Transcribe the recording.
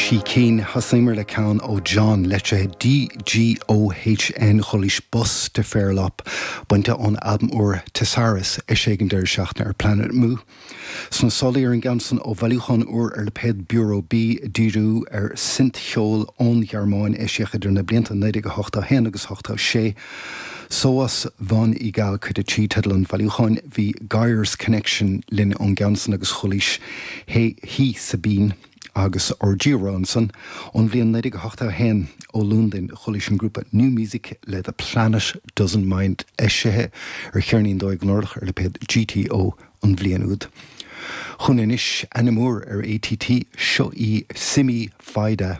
Trí cinn. Thosaíomar le ceann ó John, litrithe DGOHN, chualaís Bus to Fairlop, bainte ón albam úr Thesaurus, eisithe ag an deireadh seachtaine ar Planet Mu. Sna sálaí ar an gceann san ó bhailiúchán úr ar lipéad Bureau B, díriú ar synth-cheol ón Ghearmáin, eisíodh idir na blianta 1981 agus 86. Sowas von Egal, Cuid 3, teideal an bhailiúcháin. Bhí Geyer's Connection linn ón gceann san agus chualaís He He Sabine agus Orgy-Ra ansan. Ón bhliain 1981 ó Londain chualaís an grúpa New Musik le The Planet Doesn't Mind eisithe ar cheirnín dóigh glórach ar lipéad GTO an bhliain úd. Chugainn anois ainm úr ar ATT, seo í Simi Fayda.